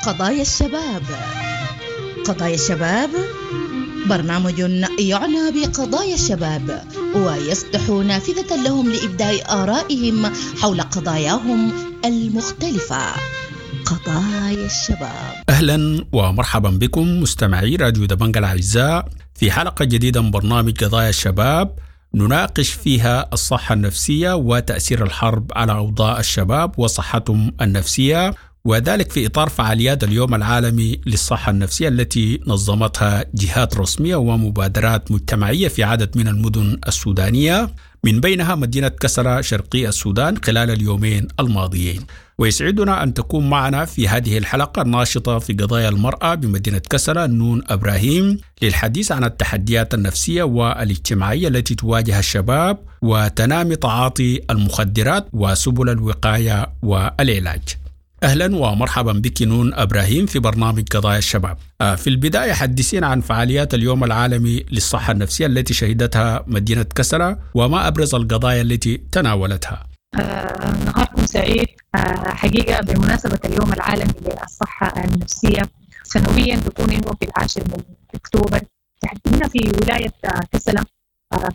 قضايا الشباب. قضايا الشباب برنامج يعنى بقضايا الشباب ويفتح نافذة لهم لإبداء آرائهم حول قضاياهم المختلفة. قضايا الشباب. أهلا ومرحبا بكم مستمعي راديو دبنجا الأعزاء في حلقة جديدة من برنامج قضايا الشباب، نناقش فيها الصحة النفسية وتأثير الحرب على أوضاع الشباب وصحتهم النفسية، وذلك في إطار فعاليات اليوم العالمي للصحة النفسية التي نظمتها جهات رسمية ومبادرات مجتمعية في عدد من المدن السودانية، من بينها مدينة كسرة شرقي السودان خلال اليومين الماضيين. ويسعدنا أن تكون معنا في هذه الحلقة الناشطة في قضايا المرأة بمدينة كسرة نون إبراهيم للحديث عن التحديات النفسية والاجتماعية التي تواجه الشباب وتنامي تعاطي المخدرات وسبل الوقاية والعلاج. أهلا ومرحبا بك نون إبراهيم في برنامج قضايا الشباب. في البداية حدثينا عن فعاليات اليوم العالمي للصحة النفسية التي شهدتها مدينة كسرة وما أبرز القضايا التي تناولتها. نهاركم سعيد. حقيقة بمناسبة اليوم العالمي للصحة النفسية سنويا بيكون إنه في 10 أكتوبر، تحديدا في ولاية كسلة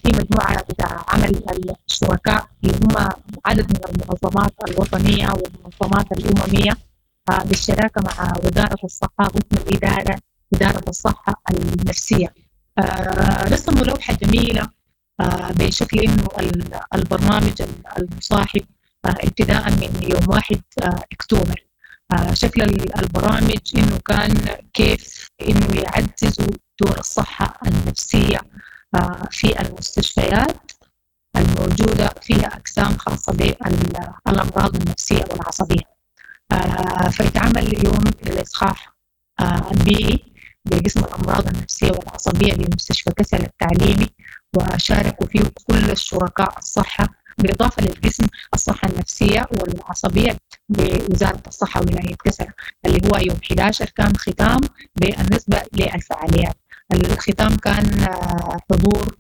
في مجموعة بتاع عمل الشركاء اللي هم عدد من المنظمات الوطنية والمنظمات الأممية بالشراكة مع وزارة الصحة قسم الإدارة إدارة الصحة النفسية. رسموا لوحة جميلة بشكل إنه البرنامج المصاحب ابتداء من يوم 1 أكتوبر. شكل البرامج إنه كان كيف إنه يعززوا دور الصحة النفسية في المستشفيات الموجودة فيها أقسام خاصة بالأمراض النفسية والعصبية. فيتعمل يوم للإصحاح البيئي بقسم الأمراض النفسية والعصبية بمستشفى كسل التعليمي، وشاركوا فيه كل الشركاء الصحة بالإضافة للقسم الصحة النفسية والعصبية بوزارة الصحة ولاية كسل، اللي هو يوم 11 كان ختام بالنسبة للفعاليات. الختام كان حضور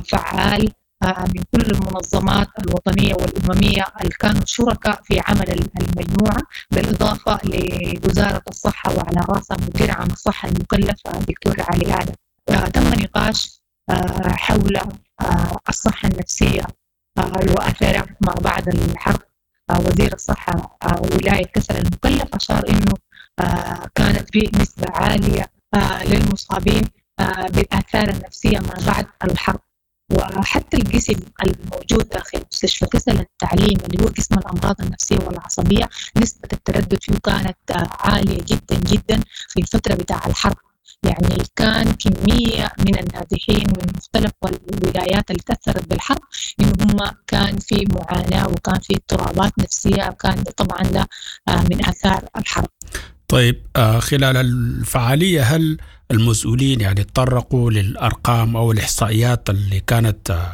فعال من كل المنظمات الوطنية والأممية اللي كانوا شركاء في عمل المجموعة، بالإضافة لوزارة الصحة وعلى رأسها مدير عام الصحة المكلف دكتور علي آدم. تم نقاش حول الصحة النفسية وأثرها ما بعد الحرب. وزير الصحة ولاية كسل المكلف أشار إنه كانت في نسبة عالية للمصابين بالآثار النفسية ما بعد الحرب، وحتى القسم الموجود داخل مستشفى كسل التعليم اللي هو قسم الأمراض النفسية والعصبية نسبة التردد فيه كانت عالية جدا جدا في الفترة بتاع الحرب. يعني كان كمية من النازحين من مختلف الولايات اللي تأثرت بالحرب إنه هم كان في معاناة وكان في اضطرابات نفسية، وكان طبعا ده من آثار الحرب. طيب، خلال الفعالية هل المسؤولين يعني تطرقوا للأرقام أو الإحصائيات اللي كانت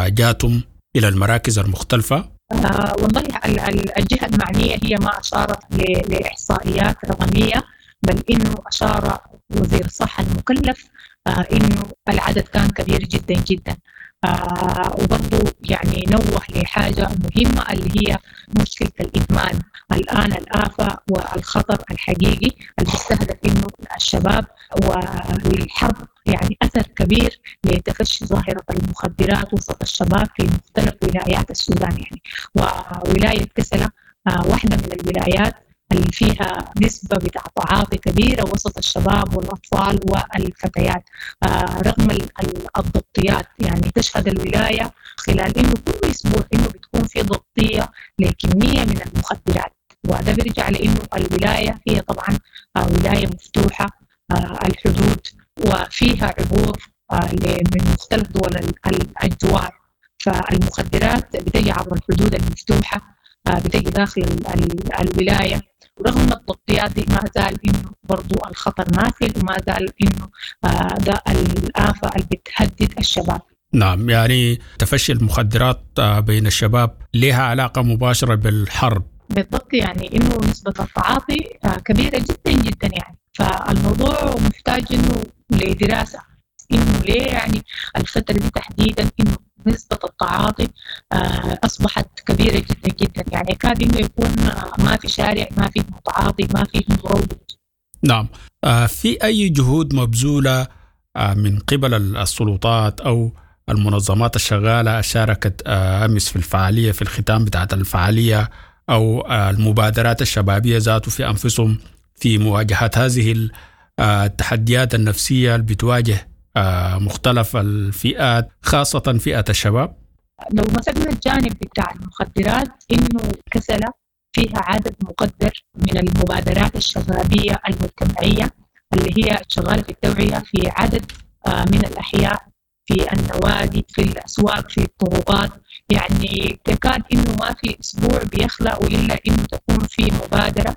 جاتهم إلى المراكز المختلفة؟ والله الجهة المعنية هي ما أشارت لإحصائيات رقمية، بل إنه أشار وزير الصحة المكلف إنه العدد كان كبير جدا جدا. وبرضه يعني نوه لحاجة مهمة اللي هي مشكلة الإدمان. الآن الآفة والخطر الحقيقي اللي بيستهدف إنه الشباب، والحرب يعني أثر كبير لتفشي ظاهرة المخدرات وسط الشباب في مختلف ولايات السودان يعني. وولاية كسلة واحدة من الولايات اللي فيها نسبة بتاع تعاطي كبيرة وسط الشباب والأطفال والفتيات، رغم الضبطيات. يعني تشهد الولاية خلال إنه كل أسبوع إنه بتكون في ضبطية لكمية من المخدرات، وده بيرجع لإنه الولاية هي طبعا ولاية مفتوحة الحدود وفيها عبور من مختلف دول الجوار، فالمخدرات بتجي عبر الحدود المفتوحة، بتجي داخل الولاية. ورغم التغطيات دي ما زال إنه برضو الخطر ماثل، وما زال إنه ده الآفة اللي بتهدد الشباب. نعم، يعني تفشي المخدرات بين الشباب لها علاقة مباشرة بالحرب. بالضبط، يعني إنه نسبة التعاطي كبيرة جدا جدا يعني، فالموضوع محتاج إنه لدراسة إنه ليه يعني الفترة دي تحديدا إنه نسبة التعاطي أصبحت كبيرة جدا جدا. يعني كاد إنه يكون ما في شارع ما فيه متعاطي، ما فيه مروج. نعم، في أي جهود مبذولة من قبل السلطات أو المنظمات الشغالة شاركت أمس في الفعالية، في الختام بتاعت الفعالية، أو المبادرات الشبابية ذاته في أنفسهم في مواجهة هذه التحديات النفسية اللي بتواجه مختلف الفئات خاصة فئة الشباب؟ لو مسكنا الجانب بتاع المخدرات، إنه كسلة فيها عدد مقدر من المبادرات الشبابية المجتمعية اللي هي شغالة في التوعية في عدد من الأحياء، في النوادي، في الأسواق، في الطرقات. يعني تكاد إنه ما في أسبوع بيخلق إلا إنه تكون في مبادرة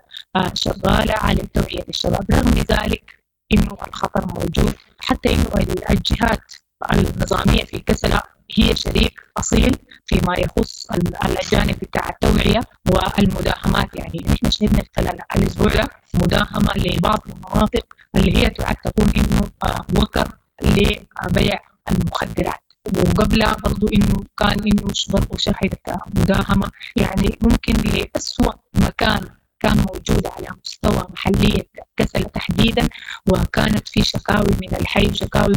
شغالة على توعية الشباب. رغم ذلك إنه الخطر موجود، حتى إنه الجهات النظامية في كسلة هي شريك أصيل فيما يخص الجانب بتاع التوعية والمداهمات. يعني نحن شهدنا خلال الأسبوع ده مداهمة لبعض المناطق اللي هي تعد تكون إنه وكر لبيع المخدرات، وقبلها برضو إنه كان إنه برضو شهدت مداهمة يعني ممكن لأسوأ مكان كان موجود على مستوى محلية كسلة تحديدا، وكانت في شكاوي من الحي وشكاوي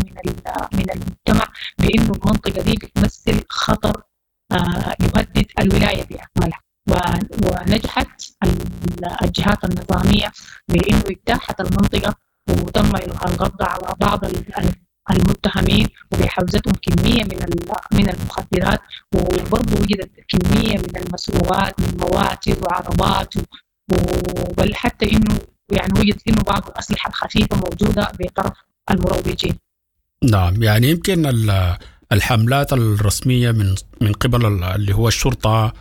من المجتمع بأنه المنطقة دي بتمثل خطر يهدد الولاية بأكملها. ونجحت الجهات النظامية بأنه اجتاحت المنطقة وتم القبض على بعض المتهمين وبحوزتهم كمية من المخدرات، وبرضه وجدت كمية من المسروقات من مواتر وعربات، وبل حتى إنه يعني وجد إنه بعض الأسلحة الخفيفة موجودة بطرف المروجين. نعم، يعني يمكن الحملات الرسمية من قبل اللي هو الشرطة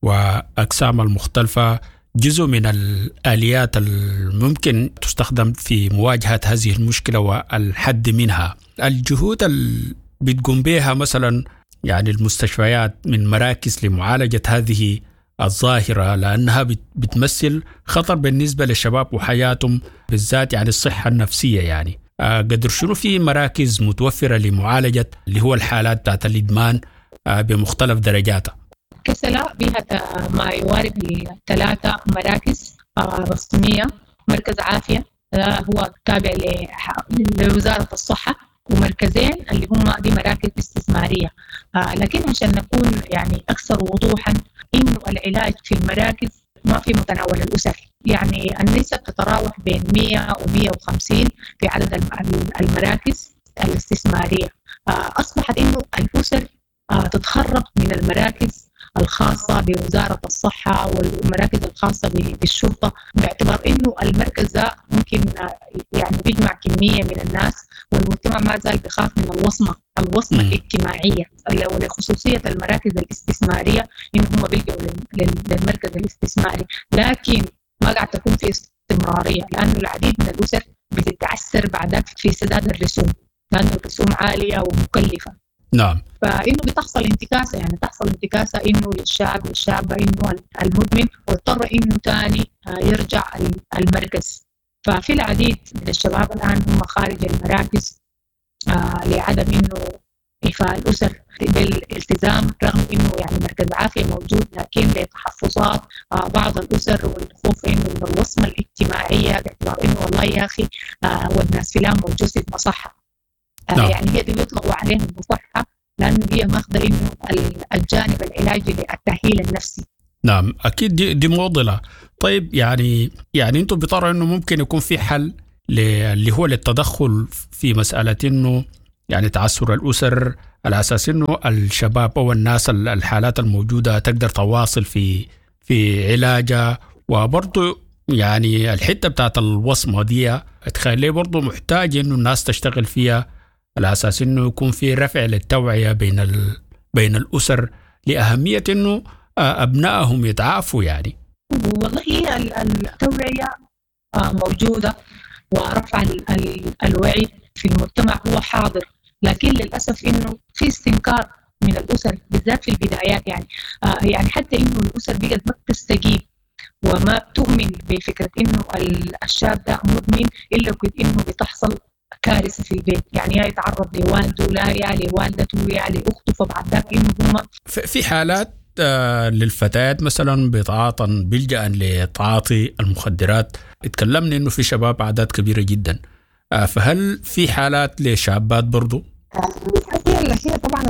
وأقسام المختلفة جزء من الآليات الممكن تستخدم في مواجهة هذه المشكلة والحد منها. الجهود اللي بتقوم بها مثلا يعني المستشفيات من مراكز لمعالجة هذه الظاهرة، لأنها بتمثل خطر بالنسبة للشباب وحياتهم بالذات، يعني الصحة النفسية. يعني قدر شنو في مراكز متوفرة لمعالجة اللي هو الحالات بتاعت الإدمان بمختلف درجاتها؟ كسلة بها ما يوارب 3 مراكز رسمية. مركز عافية هو تابع لوزارة الصحة، ومركزين اللي هم دي مراكز استثمارية. لكن عشان نكون يعني أكثر وضوحا، إنه العلاج في المراكز ما في متناول الأسر، يعني النسب تتراوح بين 100 و150 في عدد المراكز الاستثمارية. أصبحت إنه الأسر تتخرج من المراكز الخاصة بوزارة الصحة والمراكز الخاصة بالشرطة، باعتبار إنه المركز ده ممكن يعني بيجمع كمية من الناس، والمجتمع ما زال بيخاف من الوصمة الاجتماعية ولخصوصية المراكز الاستثمارية، إنه هم بيلجأوا للمركز الاستثماري. لكن ما قاعد تكون في استمرارية، لأنه العديد من الأسر بتتعثر بعدك في سداد الرسوم، لأنه الرسوم عالية ومكلفة. نعم. فإنه بتحصل انتكاسة، يعني تحصل انتكاسة إنه للشاب للشابة إنه المدمن، واضطر إنه تاني يرجع المركز. ففي العديد من الشباب الآن هم خارج المراكز لعدم إنه إيفاء الأسر بالالتزام، رغم إنه يعني مركز عافية موجود، لكن لتحفظات بعض الأسر والخوف إنه من الوصمة الاجتماعية، باعتبار إنه والله يا أخي والناس فلان موجود في المصحة. نعم. يعني هي دي بيطلقوا عليها المصحة لأنه هي ماخذة إنه الجانب العلاجي للتأهيل النفسي. نعم، أكيد دي معضلة. طيب يعني أنتم بتروا إنه ممكن يكون في حل اللي هو للتدخل في مسألة إنه يعني تعثر الأسر، على أساس إنه الشباب أو الناس الحالات الموجودة تقدر تواصل في علاجها، وبرضه يعني الحتة بتاعت الوصمة دي تخليه برضه محتاج إنه الناس تشتغل فيها على أساس إنه يكون في رفع للتوعية بين الأسر لأهمية إنه أبنائهم يتعافوا. يعني والله هي التوعية موجودة، ورفع الوعي في المجتمع هو حاضر، لكن للأسف إنه في استنكار من الأسر بالذات في البدايات. يعني حتى إنه الأسر بقت ما بتستجيب وما بتؤمن بفكرة إنه الشاب ده مدمن إلا كنت إنه بتحصل كارثة في البيت، يعني يا يتعرض لوالده، لا يا لوالدته، يا لأخته، فبعد ذاك إنه هم في حالات للفتيات مثلا بيتعاطن بيلجأن لتعاطي المخدرات. اتكلمنا انه في شباب اعداد كبيرة جدا، فهل في حالات لشابات برضو؟ هي طبعا